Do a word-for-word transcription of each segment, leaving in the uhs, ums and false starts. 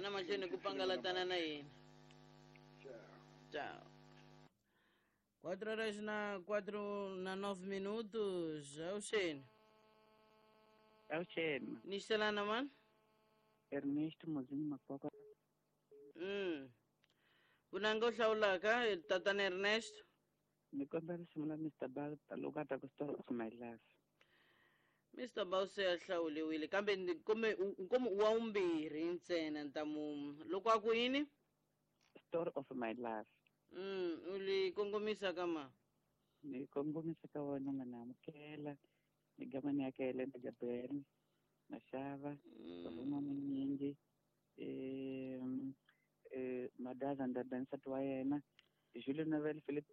Yana mahlweni ku pangalatana na yena. Ciao. Tchau. Quatro horas na quatro na nove minutos. Auxene. Auxene. Nistelana man? Ernesto Mozinho Makoka. Mm. Vunanga u hlawulaka tatana Ernesto? Ni kombela risimu la Mister Bal loko a ta ku Story of My Life. Mister Bal se a hlawuliwile kambe kumbe kumbe wa vumbirhi ntsena ntamu loko a ku yini? Story of My Life. Mm, u li kongomisa ka ma? Ni kongomisa ka wena nga na amukela ni gamani ya ka Elena Gabriel Mashava Ruma Munyingi eh eh Madaza Ndada nsati wa yena Julie Novel Philip.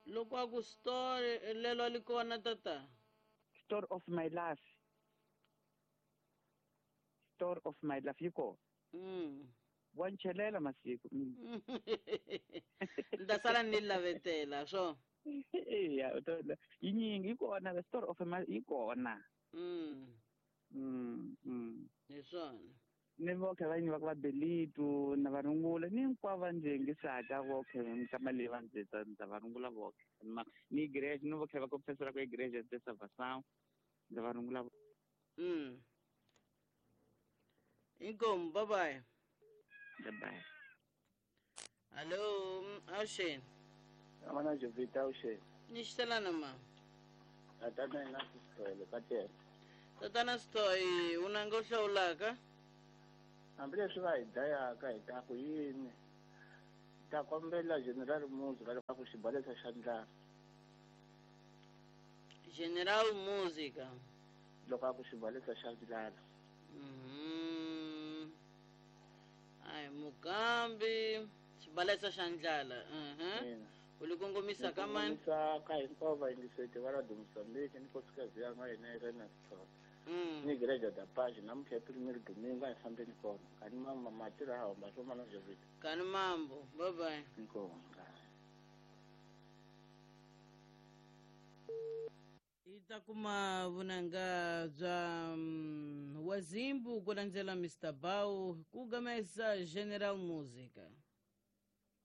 Loko a ku story lelo li kona tata? Story of My Life. Story of My Life yi kona. Mm. Wa nchelela masiku. Ni ta sala ni lavetela swo. Eya, yi nyingi yi kona the Story of My yi kona. Mm. Mm, mm. Hi swona. Ni voke va yini va va Belitu na varungula ni hinkwavo va ndzi yingisaka voke nkama leyi va ndzi ndza varungula voke ni igreja ni voke va confessora ka igreja de salvação ndza varungula. Mm. Inkomu, bye bye. Bye bye. Allo, Auxene. Amana Jovita Auxene. Nistelana ma. Tatana ina Sithole ka tele. Tatana Sithole, unanga u hlawulaka? Hambileswi va hi dlayaka hi ta ku yini? Ta kombela General Music va ku xibalesa xa ndlala. General Music. Loko a ku xibalesa xa ndlala. Mhm. Ai mukambi xibalesa xa ndlala. Mhm. U li kongomisa ka mani? Kongomisa ka hinkwavo vayingiseti va Radio Mozambique ni nkosikazi ya hina Irene Sithole. Mm. Ni igreja da Paz namuntlha primero domingo a hi fambeni kona. Kani mama matira hamba swo mana Jovita. Kani mambo. Bye bye. Inkomu. Hi ta kuma vunanga bya um, wazimbu ku landzela Mister Bau ku gamesa General Music.